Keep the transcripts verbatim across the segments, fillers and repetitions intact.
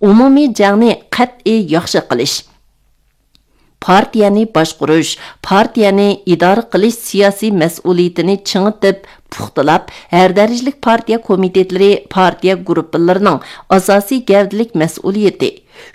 ئومۇمىي جەڭنى قەتئىي ياخشى قىلىش. پارتىيەنى باشقۇرۇش، پارتىيەنى ئىدارە قىلىش سىياسىي مەسئۇلىيىتىنى چىڭىتىپ، پۇختىلاپ، ھەر دەرىجىلىك پارتىيە كومىتېتلىرى، پارتىيە گۇرۇپپىلىرىنىڭ ئاساسىي گەۋدىلىك مەسئۇلىيىتى،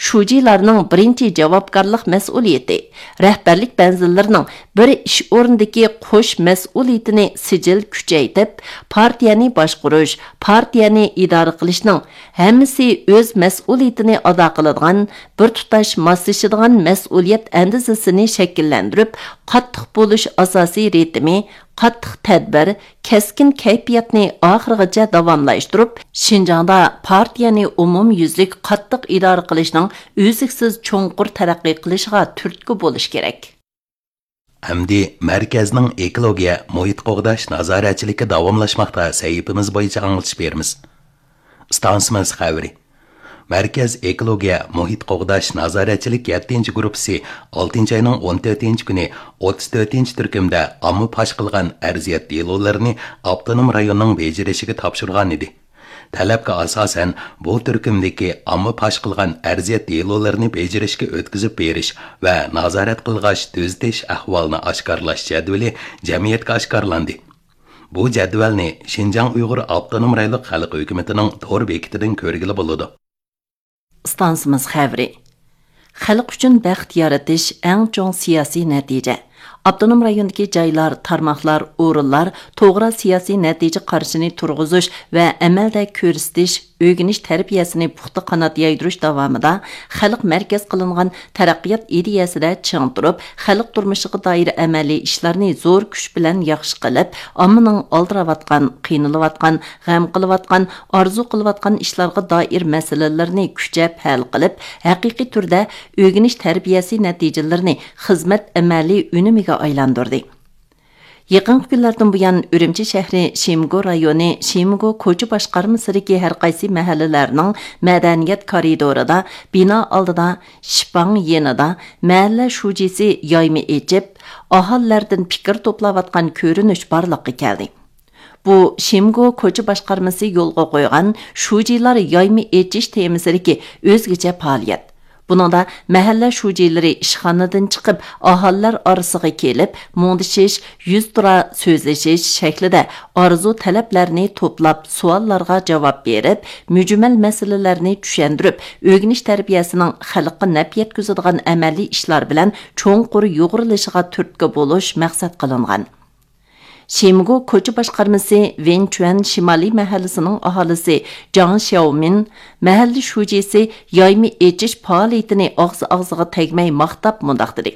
شۇجىلارنىڭ بىرىنچى جاۋابكارلىق مەسئۇلىيىتى، رەھبەرلىك مەنزىللىرىنىڭ بىر ئىش ئورنىدىكى قوش مەسئۇلىيىتىنى سىجىل كۈچەيتىپ، پارتىيەنى باشقۇرۇش، پارتىيەنى ئىدارە قىلىشنىڭ ھەممىسى ئۆز مەسئۇلىيىتىنى ئادا قىلىدىغان، بىر تۇتاش ماسلىشىدىغان مەسئۇلىيەت ئەندىزىسىنى شەكىللەندۈرۈپ، قاتتىق بولۇش ئاساسىي رىتىمى، قاتتىق تەدبىر، كەسكىن كەيپىياتنى ئاخىرغىچە داۋاملاشتۇرۇپ، شىنجاڭدا پارتىيەنى ئومۇميۈزلۈك قاتتىق ئىدارە قىلىشنىڭ ئۈزلۈكسىز چوڭقۇر تەرەققىي قىلىشىغا تۈرتكە بولۇش كېرەك. ئەمدى مەركەزنىڭ ئېكولوگىيە، مۇھىت قوغداش نازارەتچىلىكى داۋاملاشماقتا سەھىپىمىز بويىچە ئاڭلىتىش بېرىمىز. ئىستانسىمىز خەۋىرى. مەركەز ئېكولوگىيە، مۇھىت قوغداش نازارەتچىلىك يەتتىنچى گۇرۇپپىسى ئالتىنچى ئاينىڭ ئون تۆتىنچى كۈنى ئوتتۇز تۆتىنچى تۈركۈمدە ئامما پاش قىلغان ئەرزىيەت دېلولىرىنى ئاپتونوم رايوننىڭ بېجىرىشىگە تاپشۇرغان ئىدى. تەلەپكە ئاساسەن، بۇ تۈركۈمدىكى ئامما پاش قىلغان ئەرزىيەت دېلولىرىنى بېجىرىشكە ئۆتكۈزۈپ بېرىش ۋە نازارەت قىلغاچ تۈزىتىش ئەھۋالىنى ئاشكارىلاش جەدۋىلى جەمئىيەتكە ئاشكارىلاندى. بۇ جەدۋەلنى شىنجاڭ ئۇيغۇر ئاپتونوم رايونلۇق خەلق ھۆكۈمىتىنىڭ تور بېكىتىدىن كۆرگىلى بولىدۇ. ئىستانسىمىز خەۋىرى. خەلق ئۈچۈن بەخت يارىتىش ئەڭ چوڭ سىياسىي نەتىجە. ئاپتونوم رايوندىكى جايلار، تارماقلار، ئورۇنلار توغرا سىياسىي نەتىجە قارىشىنى تۇرغۇزۇش ۋە ئەمەلدە كۆرسىتىش، ئۆگىنىش تەربىيەسىنى پۇختا قانات يايدۇرۇش داۋامىدا خەلق مەركەز قىلىنغان تەرەققىيات ئىدىيەسىدە چىڭ تۇرۇپ، خەلق تۇرمۇشىغا دائىر ئەمەلىي ئىشلارنى زور كۈچ بىلەن ياخشى قىلىپ، ئاممىنىڭ ئالدىراۋاتقان، قىينىلىۋاتقان، غەم قىلىۋاتقان، ئارزۇ قىلىۋاتقان ئىشلارغا دائىر مەسىلىلىرىنى كۈچەپ ھەل قىلىپ، ھەقىقىي تۈردە ئۆگىنىش تەربىيەسى نەتىجىلىرىنى خىزمەت ئەمەلىي ئۈنۈمىگە ئايلاندۇردى. يېقىنقى كۈنلەردىن بۇيان، ئۈرۈمچى شەھىرى شىمگو رايونى شىمگو كوچا باشقارمىسىدىكى ھەر قايسى مەھەللىلەرنىڭ مەدەنىيەت كارىدورىدا، بىنا ئالدىدا، شىپاڭ يېنىدا مەھەللە شۇجىسى يايما ئېچىپ، ئاھالىلەردىن پىكىر توپلاۋاتقان كۆرۈنۈش بارلىققا كەلدى. بۇ شىمگو كوچا باشقارمىسى يولغا قويغان شۇجىلار يايما ئېچىش تېمىسىدىكى ئۆزگىچە پائالىيەت. بۇنىڭدا مەھەللە شۇجىلىرى ئىشخانىدىن چىقىپ، ئاھالىلەر ئارىسىغا كېلىپ، مۇڭدىشىش، يۈزتۇرا سۆزلىشىش شەكلىدە ئارزۇ تەلەپلەرنى توپلاپ، سوئاللارغا جاۋاب بېرىپ، مۈجمەل مەسىلىلەرنى چۈشەندۈرۈپ، ئۆگىنىش تەربىيەسىنىڭ خەلققە نەپ يەتكۈزىدىغان ئەمەلىي ئىشلار بىلەن چوڭقۇر يۇغۇرۇلۇشىغا تۈرتكە بولۇش مەقسەت قىلىنغان. شىمگو كوچا باشقارمىسى ۋېنچۈەن شىمالىي مەھەللىسىنىڭ ئاھالىسى جاڭ شياۋمىن مەھەللە شۇجىسى يايما ئېچىش پائالىيىتىنى ئاغزى ئاغزىغا تەگمەي ماختاپ مۇنداق دېدى: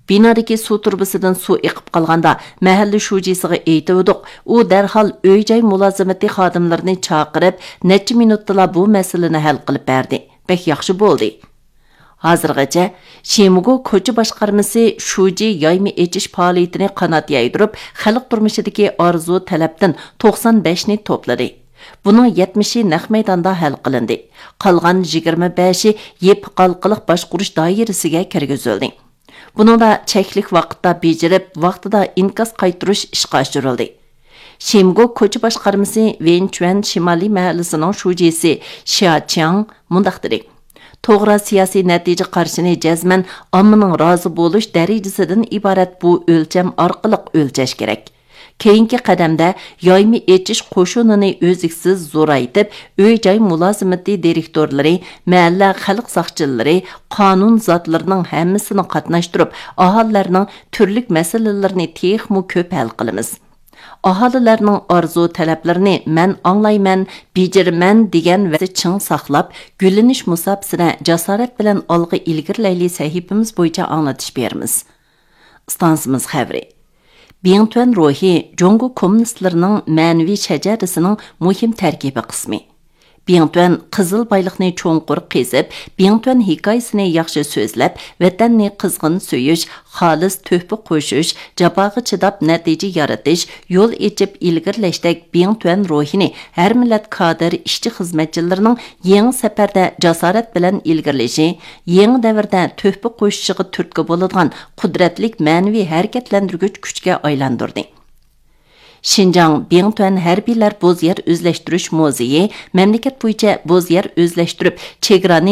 بىنادىكى سۇ تۇرۇبىسىدىن سۇ ئېقىپ قالغاندا، مەھەللە شۇجىسىغا ئېيتىۋىدۇق، ئۇ دەرھال ئۆي-جاي مۇلازىمىتى خادىملىرىنى چاقىرىپ، نەچچە مىنۇتتىلا بۇ مەسىلىنى ھەل قىلىپ بەردى. بەك ياخشى بولدى. ھازىرغىچە شىمگو كوچا باشقارمىسى شۇجى يايما ئېچىش پائالىيىتىنى قانات يايدۇرۇپ، خەلق تۇرمۇشىدىكى ئارزۇ تەلەپتىن توقسان بەشنى توپلىدى. بۇنىڭ يەتمىشى نەق مەيداندا ھەل قىلىندى. قالغان يىگىرمە بەشى يېپىقالقىلىق باشقۇرۇش دائىرىسىگە كىرگۈزۈلدى. بۇنىڭدا چەكلىك ۋاقىتتا بېجىرىپ، ۋاقتىدا ئىنكاس قايتۇرۇش ئىشقا ئاشۇرۇلدى. شىمگو كوچا باشقارمىسى ۋېنچۈەن شىمالىي مەھەللىسىنىڭ شۇجىسى شيا چياڭ مۇنداق دېدى: توغرا سىياسىي نەتىجە قارىشىنى جەزمەن ئاممىنىڭ رازى بولۇش دەرىجىسىدىن ئىبارەت بۇ ئۆلچەم ئارقىلىق ئۆلچەش كېرەك. كېيىنكى قەدەمدە يايما ئېچىش قوشۇنىنى ئۈزلۈكسىز زورايتىپ، ئۆي-جاي مۇلازىمىتى دىرېكتورلىرى، مەھەللە خەلق ساقچىلىرى، قانۇن زاتلىرىنىڭ ھەممىسىنى قاتناشتۇرۇپ، ئاھالىلەرنىڭ تۈرلۈك مەسىلىلىرىنى تېخىمۇ كۆپ ھەل قىلىمىز. ئاھالىلەرنىڭ ئارزۇ تەلەپلىرىنى مەن ئاڭلايمەن، بېجىرىمەن دېگەن ۋەدىسى چىڭ ساقلاپ، گۈللىنىش مۇساپىسىنى جاسارەت بىلەن ئالغا ئىلگىرىلەيلى سەھىپىمىز بويىچە ئاڭلىتىش بېرىمىز. ئىستانسىمىز خەۋىرى. بىڭتۈەن روھى جۇڭگو كوممۇنىستلىرىنىڭ مەنىۋى شەجەرىسىنىڭ مۇھىم تەركىبىي قىسمى. بىڭتۈەن قىزىل بايلىقنى چوڭقۇر قېزىپ، بىڭتۈەن ھېكايىسىنى ياخشى سۆزلەپ، ۋەتەننى قىزغىن سۆيۈش، خالىس تۆھپە قوشۇش، جاپاغا چىداپ نەتىجە يارىتىش، يول ئېچىپ ئىلگىرىلەشتەك بىڭتۈەن روھىنى ھەر مىللەت كادىر، ئىشچى-خىزمەتچىلىرىنىڭ يېڭى سەپەردە جاسارەت بىلەن ئىلگىرىلىشى، يېڭى دەۋردە تۆھپە قوشۇشىغا تۈرتكە بولىدىغان قۇدرەتلىك مەنىۋى ھەرىكەتلەندۈرگۈچ كۈچكە ئايلاندۇردى. شىنجاڭ بىڭتۈەن ھەربىيلەر بوز يەر ئۆزلەشتۈرۈش مۇزېيى مەملىكەت بويىچە بوز يەر ئۆزلەشتۈرۈپ، چېگرانى